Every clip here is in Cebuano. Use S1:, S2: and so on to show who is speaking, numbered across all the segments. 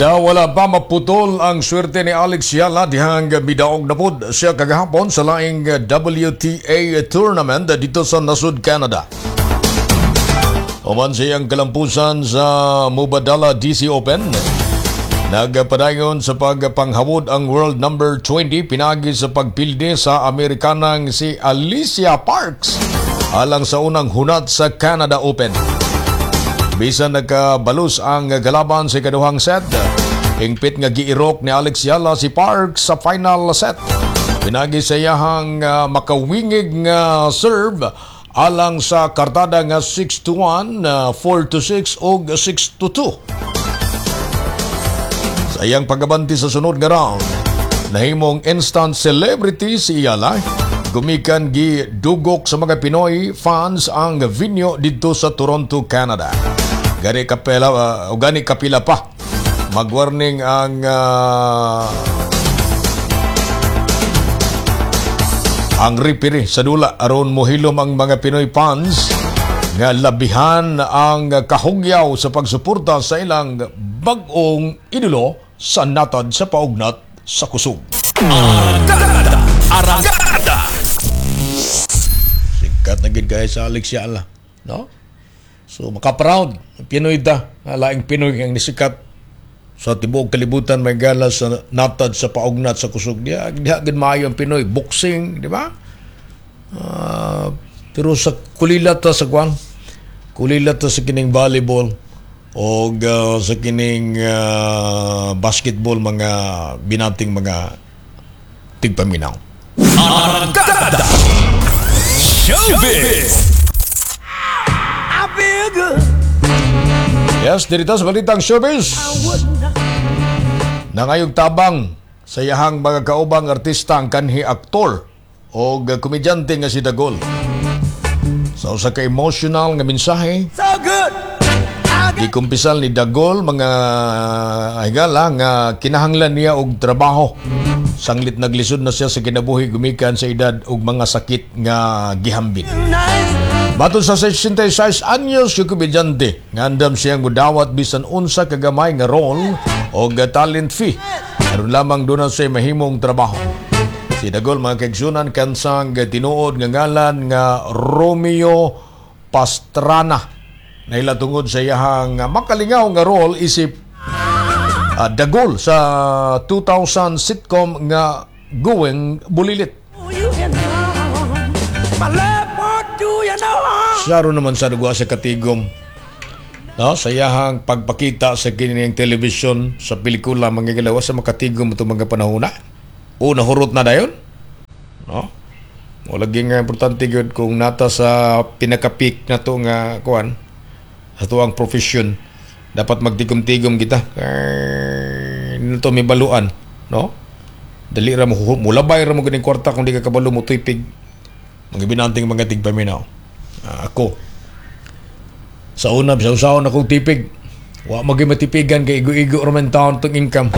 S1: Daw wala pa maputol ang swerte ni Alex Eala dihang midaog na pod siya kagahapon sa laing WTA tournament dito sa nasud Canada. Human siyang kalampusan sa Mubadala DC Open. Nagpadayon sa pagpanghawod ang world number 20 pinagi sa pagpildi sa Amerikanang si Alycia Parks alang sa unang hunat sa Canada Open. Bisan nagkabalus ang galaban sa ikaduhang set, hingpit nga giirok ni Alex Eala si Parks sa final set. Pinagi sa iyahang makawingig nga serve alang sa kartada nga 6-1, 4-6 ug 6-2. Sa iyang pagabanti sa sunod nga round, nahimong instant celebrity si Eala. Gumikan gi dugok sa mga Pinoy fans ang venue dito sa Toronto, Canada. Gani kapila o gani kapila pa magwarning ang ang referee sa dula aron mohilom ang mga Pinoy fans nga labihan ang kahugyaw sa pagsuporta sa ilang bag-ong idolo sa natad sa paugnat sa kusog.
S2: Arangkada! Arangkada!
S1: Sikat na gid kay sa Alex Eala, no? So maka-proud Pinoy ta, laing Pinoy ang nisikat sa tibuok kalibutan may gala sa natad sa paugnat sa kusog. Diha gid maayo ang Pinoy boxing, di ba? Pero sa kulilat ta sa kwan, kulilat ta sa kining volleyball o sa kining basketball, mga binating mga tigpaminaw.
S2: Arangkada Showbiz!
S3: I feel good.
S1: Yes, dirito sa Balitang Showbiz. Nangayog tabang sa iyahang mga kaubang artista ang kanhi aktor o komedyante nga si Dagol. Sa usa ka emotional nga mensahe,
S3: So good. I got
S1: gikumpisal ni Dagol, mga higala, nga kinahanglan niya og trabaho. Sanglit naglisod na siya sa kinabuhi gumikan sa edad og mga sakit nga gihambin.
S3: Nice.
S1: Matod sa 66 anyos yung komedyante, nga andam siyang mudawat bisan unsa kagamay nga role o talent fee. Aron lamang doon na siya mahimong trabaho. Si Dagol, mga kaigsunan, kansang tinuod nga ngalan nga Romeo Pastrana. Naila tungod sa iyahang makalingaw nga role isip Dagol sa 2000 sitcom nga Going Bulilit.
S3: You in harm. My love won't do you no harm.
S1: Saro naman sa dugwa sa katigom. No, sa iyahang pagpakita sa kining television sa pelikula, mga galawa sa makatigom itong mga panahon na. O nahurot na dayon. No? Mo lagi nga importante gyud kung nata sa pinaka-peak na to nga kuan sa tuang profession, dapat magtigom-tigom kita. Kay nito may baluan, no? Dali ra mo, mulabay ra mo ganing kwarta kung di ka kabalo mo tuypig. Mga binanting mga tigpaminaw. Ako sa una, sa usaon akong tipig. Wa magi matipigan kay igo-igo ra man taon tong income.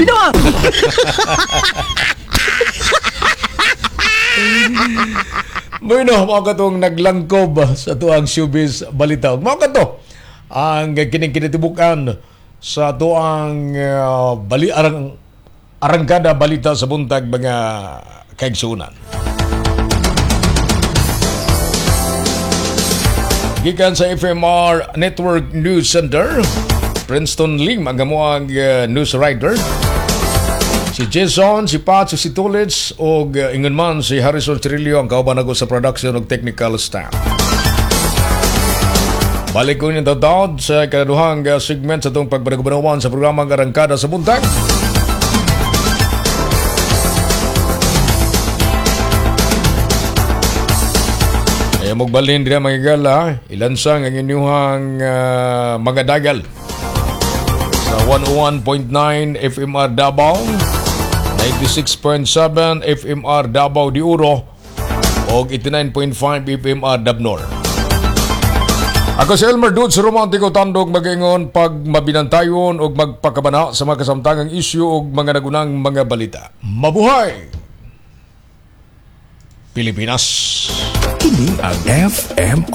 S1: Bueno, mao katong naglangkob sa tuang showbiz balita. Mao kato ang kining kinatibukan sa tuang bali arang arangkada balita sa buntag, mga kaigsunan. Gikan sa FMR Network News Center, Princeton Lim ang amuang news writer. Si Jason, si Pat, si Tulits, og ingon man si Harrison Trillo ang kauban ako sa production og technical staff. Balik ko inyong tatawad sa ikaduhang segment sa itong pagpanagubanawan sa programang Arangkada sa Buntag. Kaya magbalhin din mga higala, ilansang ang inyong mga dagal sa 101.9 FMR Davao, 96.7 FMR Davao de Oro, o 89.5 FMR Dabnor. Ako si Elmer Dudes Romantico Tandog, mag-ingon pag mabinantayon o magpakabana sa mga kasamtangang isyu o mga nagunang mga balita. Mabuhay! Pilipinas!
S2: Kini ang FMR.